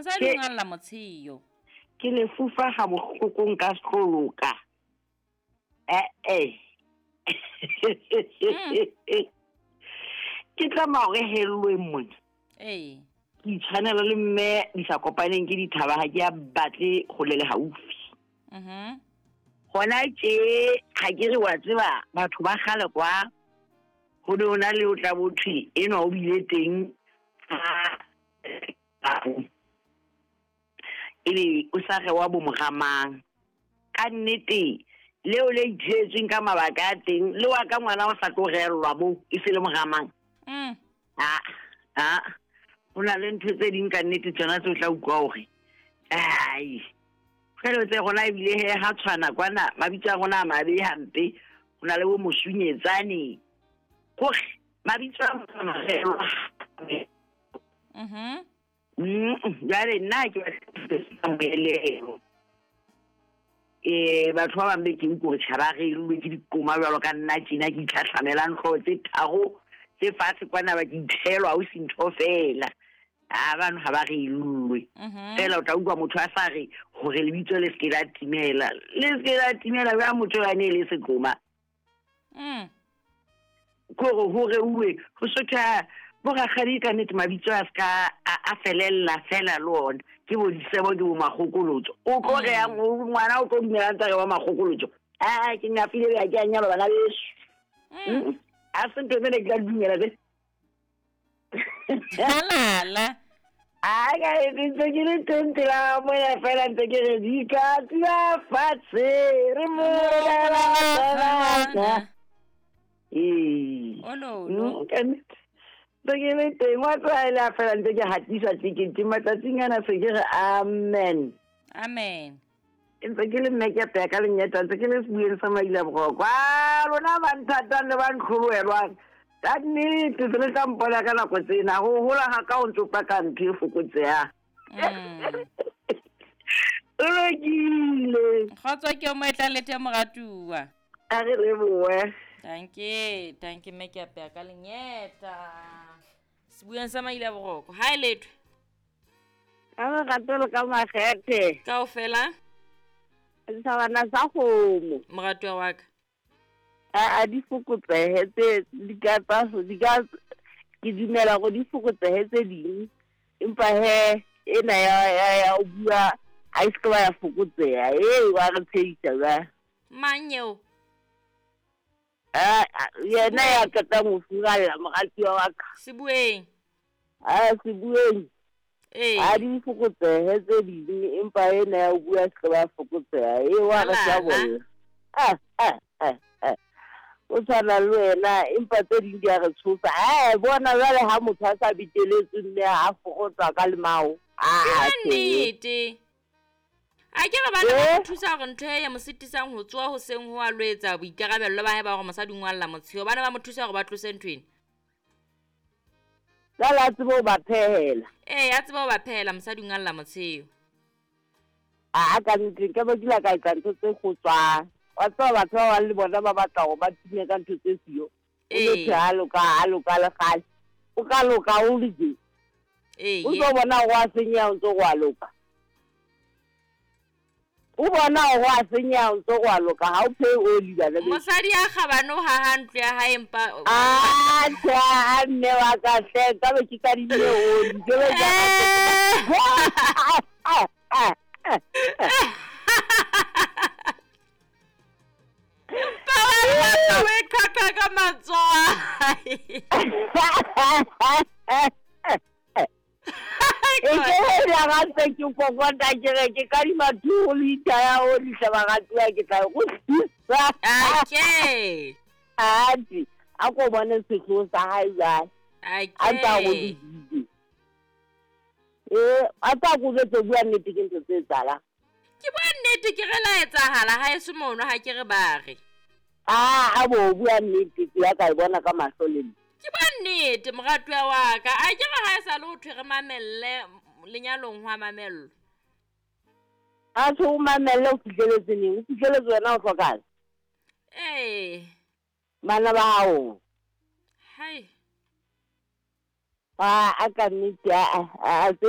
Mosadi o ngalla motsheo. Ke lefufa ga bohloko nka se tlo loka. Eh-eh. Ke tlameha hore hellweng mona. Ee. Ke itshwanela le mme di sa kopaneng ke dithaba ha ke a batle hole le haufi. Hona tje ha ke re wa tseba batho ba kgale kwa ho ne ho na le o tla bo thwe enwa o bile teng ha ebe o sa rewa bo moramang. Ka nnete leo le itshetsweng ka mabaka a teng le wa ka ngwana o sa tlo reellwa bo e se le moramang. A ho na le ntho tse ding ka nnete tsona tse o tla utlwa hore ai jwale tse rona ebile he ha tshwana kwana mabitso a rona a mabe hampe ho na le bo mosunyetsane kore mabitso a rona reellwa. Jwale nna ke batla moelelo. Batho ba bang be ke utlwe hore tjha ba reilwe ke dikoma jwalo ka nna tjena ke itlhatlhamelang hlooho tse tharo tse fatshe kwana ba ke ithelwa ho se ntho fela. A bano ha ba reilwe. Fela o tla utlwa motho a sa re hore lebitso le se ke la timela. Le se ke la timela jwang motho ya ne le sekoma. Kore ho reuwe ho sotha bo rakgadi ka nnete mabitso a ska a felella fela le ona. Ke bo disebo ke bo makgokolotso. O tlo re yang ngwana o tlo dumela ntse re wa makgokolotso. A ke ngafile ya ke a nyalwa bana beso. A se ntho tsena ke tla dumela tse. Halala. A ka ntse ke le teng pela moya fela ntse ke re di ka tla fatshe re molela tsana. Ee. Ololo. Ka nnete. Ntse ke le teng wa tlwaela fela ntse ke hatisa tekete matsatsing ana se ke re amen. Amen. Ntse ke le mme ke apeya ka lenyeta ntse ke le sebueng sa maila boroko. A lona ba nthatang le ba ntlholohelwang. Ka nnete se le tla mpona ka nako tsena ho hola ha ka o ntso paka ntho e fokotsehang. O lokile. Kgotso ke o mo etlang le teng moratuwa. A re lebohe. Danke, danke mme ke apeya ka lenyeta. Sebueng sa maila boroko. Ha e lethwe. Ka lerato le ka makgethe. Kaofela. Setjhabana sa kgomo. Moratuwa wa ka. A di fokotsehe tse di ka tsa di ka ke dumela hore di fokotsehe tse ding empa he ena ya o bua ha e se ba ya fokotseha e wa re tshehisa ba mang eo a yena ya qetang ho furalla moratuwa wa ka Sebueng a Sebueng ee a di fokotsehe tse ding empa ena ya o bua se ba fokotseha e wa re tlabolla a o tshwana le wena empa tse ding di a re tshosa. Bona jwale ha motho a sa beteletswe mme a fokotsa ka lemao. Ke nnete. A ke re bana ba thusa hore ntho e ya mo sitisang ho tsoha hoseng ho a lo etsa boikarabello ba hae ba hore mosadi o ngwalla motsheo. Bana ba mo thusa hore ba tlose ntho ena. Jwale a tsebe ho ba phehela. Ee, a tsebe ho ba phehela mosadi o ngwalla motsheo. A ka nnete nka ba kila ka etsa ntho tse kgotswang. Wa tseba batho ba bang le bona ba batla hore ba tume ka ntho tse siyo. O lo ha loka le kgale. O ka loka o le je. O tlo bona hore wa senyeha o ntso wa loka. O bona hore wa senyeha o ntso wa loka ha o phehe oli bana beso. Mosadi ya kgabane o haha ntlo ya hae empa a tjha mme wa ka hle ka be ke kadimile oli. Ke be ke ka matswai. E ke la ga ke kokota ke re ke kadima 2 liter ya oli hle baratuwa ke tla go thusa. Okay. Ati a ko bone sehloho sa hae jwale. Okay. A tla go di. A tla go jwetse bua nnete ke ntho tse etsahalang. Ke bua nnete ke re la etsahala ha e se mono ha ke re ba re. A bo bua nnete ke ya ka e bona ka mahlo le nna. Ke bua nnete moratuwa wa ka. A ke re ha e sa le ho thwe re mamelle lenyalong ho a mamellwa. A tjho o mamelle o fihleletse neng? O fihleletse wena o hlokang? Ee. Bana ba hao. Hai. A ka nnete a tse